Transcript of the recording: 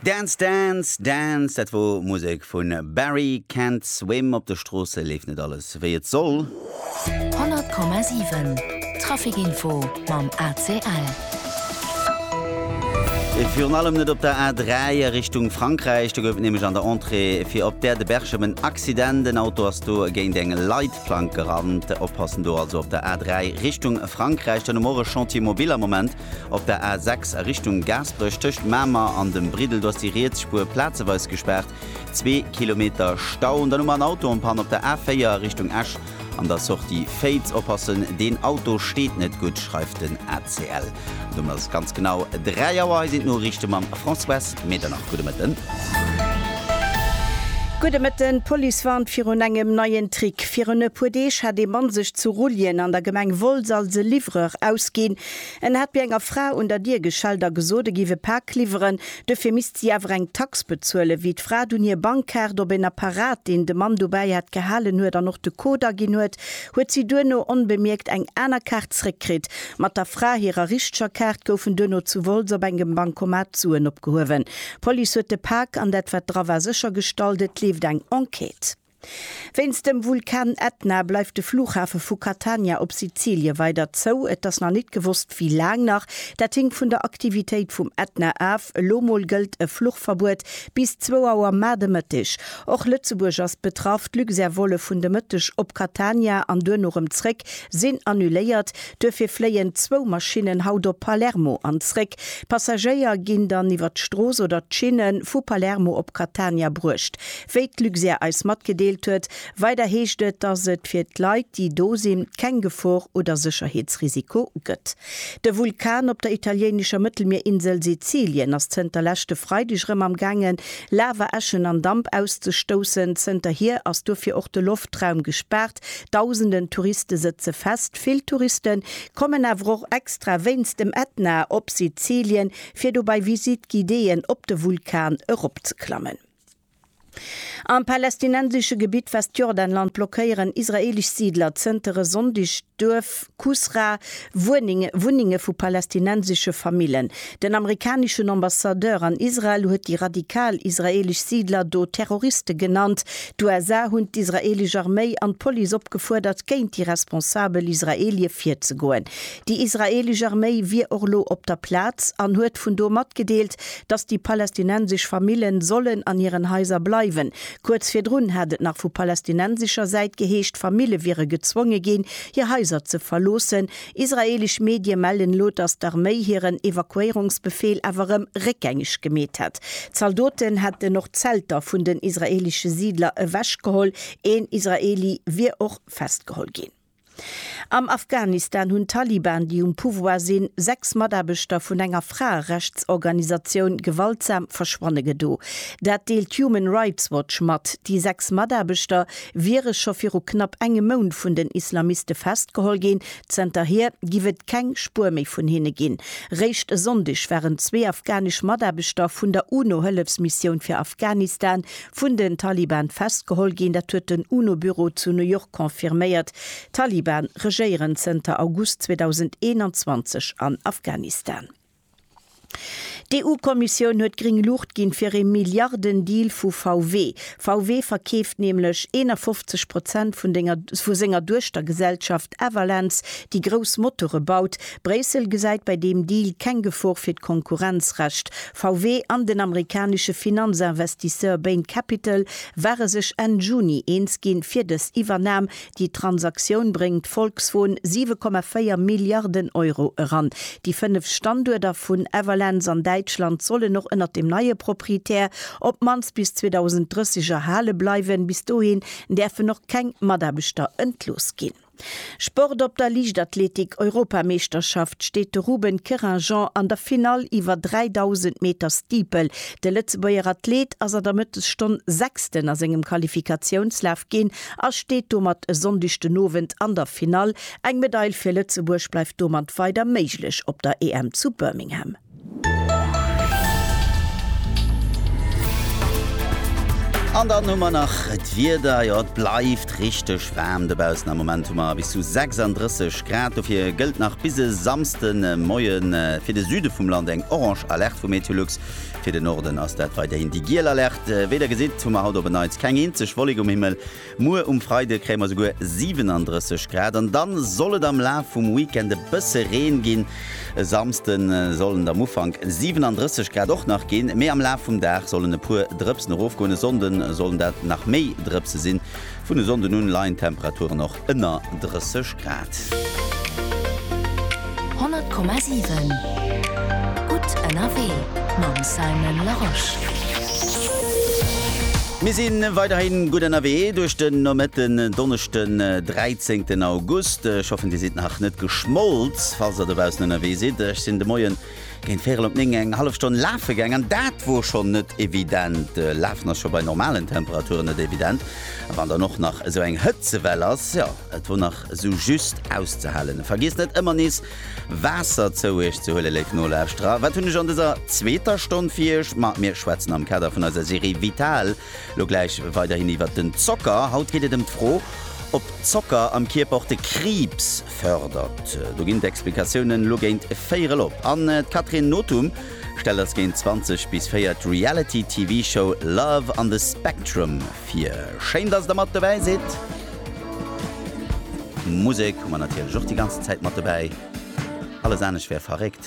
Dance, dance, dance, dat wor Musek vun Barry Can't Swim. Op de Stroosse leeft net alles wéi et soll. 100,7 Trafic Info mam ACL. Virun allem net op der A3 a Richtung Frankräich. Do gouf et nämlech an der Entrée fir op d'Aire de Berchem en Accident. En Auto ass do géint eng Leitplank gerannt. Oppassen do also op der A3 Richtung Frankräich. Dann hu mer och e Chantier mobile am Moment Op der A 6 a Richtung Gaasperech tëscht Mamer an dem Briddel, do ass déi riets Spuer plazeweis gespaart, zwee Kilometer Stau. An dann hu mer en Auto en panne op der A 4 a Richtung Esch an der Sortie Féiz. Oppassen, deen Auto steet net gutt, schreift den ACL. An domat ass et ganz genau 3 Auer. Hei sinn d'Noriichte mam Françoise Medernach. Gudde Mëtten. Gudde Mëtten. D'Police warnt virun engem neien Trick. Virun e puer Deeg hat ee Mann sech zu Rulljen an der Gemeng Wolz als e Livreur ausginn. En hat bei enger Fra un der Dier geschellt a gesot, e géif e Pak liwweren. Dofir misst si awer eng Tax bezuelen. Wéi d'Fra dunn hir Bankkaart op en Apparat, deen de Mann dobäi hat, gehalen huet an och de Code aginn huet, huet si duerno onbemierkt eng aner Kaart zréckkritt. Mat der Fra hirer richteger Kaart goufen duerno zu Wolz op engem Bancomat d'Suen opgehuewen. D'Police huet de Pak an dat wat dra war séchergestallt. Et leeft eng Enquête. Wéinst dem Vulkan Ätna bleift de Flughafe vu Catania op Sizilie weider zou. Et ass nach nit gewosst, wéi laang nach. Dat hinkt vun der Aktivitéit vum Ätna af. Elo mol gëllt e Fluchverbuet bis zwou Auer mar de Mëtteg. Och Lëtzebuerg ass betraff. D'Luxair-Volle vun de Mëtteg op Catania an duerno rëm zréck sinn annuléiert. Duerfir fléien zwou Maschinnen haut op Palermo an zréck. D'Passagéier ginn dann iwwer d'Strooss oder d'Schinne vu Palermo op Catania bruecht. Wéi d'Luxair eis matgedeelt huet. Weider heescht et, datt et fir d'Leit, déi do sinn, keng Gefor oder Sécherheetsrisiko gëtt. De Vulkan op der italiéinescher Mëttelmierinsel Sizilien ass zënter leschte Freideg erëm am gaangen, Lava, Äschen an Damp auszestoussen. Zënterhier ass dofir och de Loftraum gespaart. Dausenden Touriste sëtze fest. Vill Touriste kommen awer och extra wéinst dem Ätna op Sizilien, fir do bei Visite guidéeën op de Vulkan eropzeklammen. Am palästinensesche Gebitt Westjordanland blockéieren israeelesch Siidler zënter e Sonndeg d'Duerf Kusra, Wunnenge vu palästinensesche Famillen. Den amerikaneschen Ambassadeur an Israel huet déi radikal israeelesch Siidler do Terroriste genannt. D'USA hunn d'israeelesch Arméi an d'Police opgefuerdert, géint déi responsabel Israeelie virzegoen. Déi israeelesch Arméi wier och elo op der Plaz an huet vun do matgedeelt, datt déi palästinensesch Famillen sollen an hiren Haiser bleiwen. Kuerz virdrun hat et nach vu palästinensescher Säit geheescht, Famille wiere gezwonge ginn, hir Haiser ze verloossen. Israeelesch Medie mellen elo, datt d'Arméi hiren Evakuéierungsbefeel awer erëm réckgängeg gemeet hätt. Zaldoten hätten och d'Zelter vun den israeelesche Siidler ewechgeholl. Een Israeeli wier och festgeholl ginn. Am Afghanistan hunn d'Taliban, déi um Pouvoir sinn, 6 Mataarbechter vun enger Fraerechtsorganisatioun gewaltsam verschwanne gedo. Dat deelt Human Rights Watch mat. Déi 6 Mataarbechter wiere scho viru knapp engem Mount vun den Islamiste festgeholl ginn. Zënterhier giff et keng Spuer méi vun hinne ginn. Réischt e Sonndeg waren zwee afghanesch Mataarbechter vun der UNO-Hëllefsmissioun fir Afghanistan vun den Taliban festgeholl ginn. Dat huet den UNO-Büro zu New York confirméiert. D'Taliban regéieren zënter August 2021 an Afghanistan. D'EU-Kommissioun huet gréng Luucht ginn fir ee Milliarden-Deal vu VW. VW verkeeft nämlech 51 Prozent vun denger vu senger Duechtergesellschaft Everlance, déi grouss Motore baut. Bréissel gesäit bei deem Deal keng Gefor fir d'Konkurrenzrecht. VW an den amerikanesche Finanzinvestisseur Bain Capital ware sech Enn Juni eens ginn, fir dës Iwwernam. Déi Transaktioun bréngt Volkswon 7,4 Milliarden Euro eran. Déi 5 Standuerter vun Everlance an Däitschland sollen och ënnert dem neie Proprietär op d'mannst bis 2030 erhale bleiwen. Bis dohin däerfen och keng Mataarbechter entlooss ginn. Sport Op der Liichtathletik-Europameeschterschaft steet de Ruben Querinjean an der Finall iwwer 3.000 Meter Steeple. De Lëtzebuerger Athlet ass an der Mëttesstonn Sechsten a sengem Qualifikatiounslaf ginn a steet domat e Sonndeg den Owend an der Finall. Eng Medail fir Lëtzebuerg bleift domat weider méiglech op der EM zu Birmingham. An dann hu mer nach d'Wieder, jo et bleift richteg waarm dobaussen. Am Moment hu mer bis zu 36 Grad. Dofir gëllt nach bis e Samsde Moie fir de Süde vum Land eng orange Alerte vu Meteolux. Fir den Norden ass dat weiderhin déi giel Alerte. Wéi der gesitt, hu mer haut op en Neits keng eenzeg Wollek um Himmel. Muer um Freide kréie mer souguer 37 Grad an dann soll et am Laf vum Weekend e bësse Reen ginn. E Samsde sollen et am Ufank 37 Grad och nach ginn, mee am Laf vum Dag sollen e puer Drëpsen erofgoen. E Sonnde sollen dat nach méi Drëpse sinn. Vun e Sonnden un leien d'Temperaturen och ënner 30 Grad. 100,7 Gutt ënnerwee mam Simon Larosche. Mir si weiderhi gutt ënnerwee duerch den Nomëtten, Donneschden 13 August. Ech hoffen dir sidd nach net geschmolz, falls der dobaussen ënnerwee sidd. Ech sinn de Moien géint véierel op 9 eng hallef Stonn lafe gaang an dat wor schonn net evident. Lafen ass scho bei normalen Temperaturen net evident, a wann dann och nach esou eng Hëtzewell ass, jo et wor nach esou just auszehalen. Vergiesst net ëmmer nees Waasser zou iech ze huelen, léif Nolauschterer. Wat hunn ech an dëser zweeter Stonn fir iech? Ma mir schwätzen am Kader vun eiser Serie Vital lo gläich weiderhin iwwert den Zocker. Haut geet et ëm d'Fro, ob Zocker am Kierper och de Kriibs fërdert. Do ginn d'Explikatiounen lo géint véierel op. An d'Catherine Nothum stellt eis géint 20 bis 4 d'Reality-TV-Show Love on the Spectrum vir. Schéin, dass der mat dobäi sidd. Musek hu mer natierlech och déi ganzen Zäit mat dobäi. Alles anescht wär verréckt.